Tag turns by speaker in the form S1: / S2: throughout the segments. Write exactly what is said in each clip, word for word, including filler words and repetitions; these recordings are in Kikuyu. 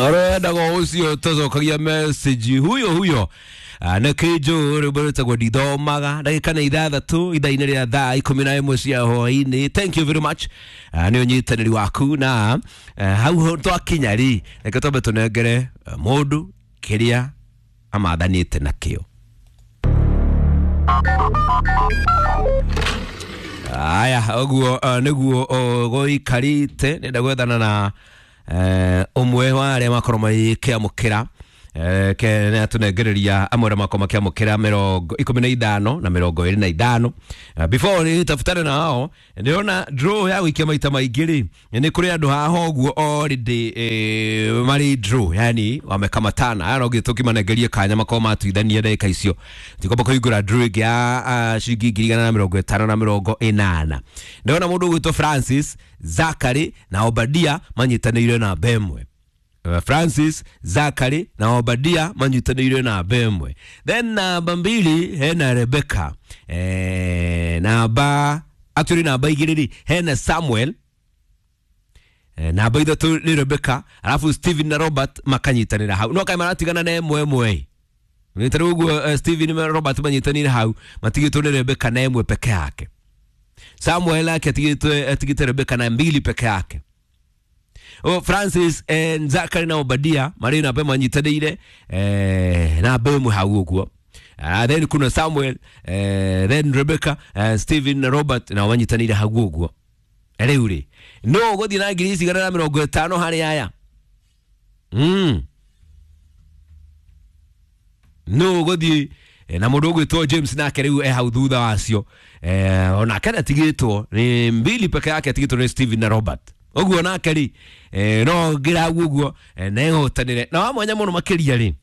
S1: Arenda ucio tucokagia message huyo huyo na kinju rwimbo rwĩtagwo ndithomaga ndagĩka nĩ ithathatũ ithaa-inĩ rĩa thaa ikũmi na ĩmwe cia hwaĩ-inĩ. Thank you very much nĩ ũnyitanĩri waku na hau twakinya rĩ, reke twambe tũnengere mũndũ kĩrĩa amathanĩte nakĩo. Aya ũguo nĩguo gũikarĩte. Nenda gwethana na ũmwe wa arĩa makorwo makĩamũkĩra ke nĩ atũnengereria amwe arĩa makorwo makĩamũkĩra mĩrongo ikũmi na ithano na mĩrongo ĩrĩ na ithano. Before nĩ tafutane na hao, ndĩrona draw ya gũikia maita maingĩ rĩ, nĩ kũrĩ andũ haha ũguo already marĩ draw, yani wamekamatana. Aya no nginya tũkĩmanengerie kanya makorwo matuithania ndagĩka icio, tikwamba kũhingũra draw ĩngĩ ya ciringi ngiri igana na mĩrongo ĩtano na mĩrongo ĩnana. Ndĩrona mũndũ ũgwĩtwo Francis Zachary na Obadia manyitanĩire namba ĩmwe. Francis Zachary na Obadia manyitanĩire namba ĩmwe. Then namba mbili hena Rebecca, eh, namba actually namba igĩrĩ rĩ hena Samuel, eh, namba ithatũ nĩ Rebecca, alafu Steven na Robert makanyitanĩra hau. No kaĩ maratigana na ĩmwe ĩmwe nĩ tarĩu ũguo. Steven na Robert manyitanĩire hau, matigĩtwo nĩ Rebecca na ĩmwe peke yake. Samuel ake atigĩtwe atigĩte Rebecca na mbili peke yake. O Francis eh, Zachary na Obadia marĩ namba manyitanĩire eh, namba ĩmwe hau ũguo. Uh, then kuna Samuel, eh, then Rebecca, eh, Steven na Robert na manyitanĩire hau ũguo. Rĩu rĩ no ũgũthiĩ na ngiri igana na mĩrongo ĩtano harĩ aya, mm. no ũgũthiĩ na mũndũ ũgwĩtwo James nake rĩu e hau thutha wacio, eh, onake atigĩtwo nĩ mbili peke yake, atigĩtwo nĩ Steven na Robert ũguo nake rĩ, eh, no ngĩra hau ũguo na ehotanĩre na wa mwanya mũno makĩria rĩ,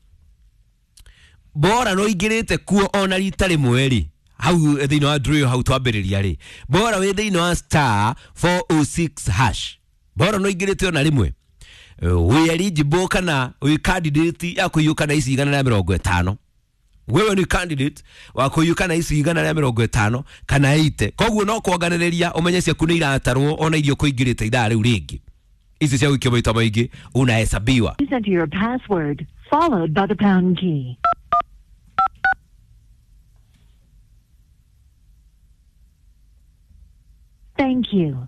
S1: bora no ingĩrĩte kuo ona rita rĩmwe rĩ hau thĩinĩ wa draw hau twambĩrĩria rĩ, bora wĩ thĩinĩ wa star four oh six hash, bora no ingĩrĩte ona rĩmwe wĩ eligible kana wĩ candidate ya kũiyũka na ici igana rĩa mĩrongo ĩtano. Wewe ni candidate wa kũiyũka na ici igana rĩa mĩrongo ĩtano kana ite, koguo no kuonganĩrĩria ũmenye ciaku nĩ iratarwo ona irio kũingĩrĩte ithaa rĩu rĩngĩ ici cia gũikio maita maingĩ unahesabiwa.
S2: Please enter your password followed by the pound key. Thank you.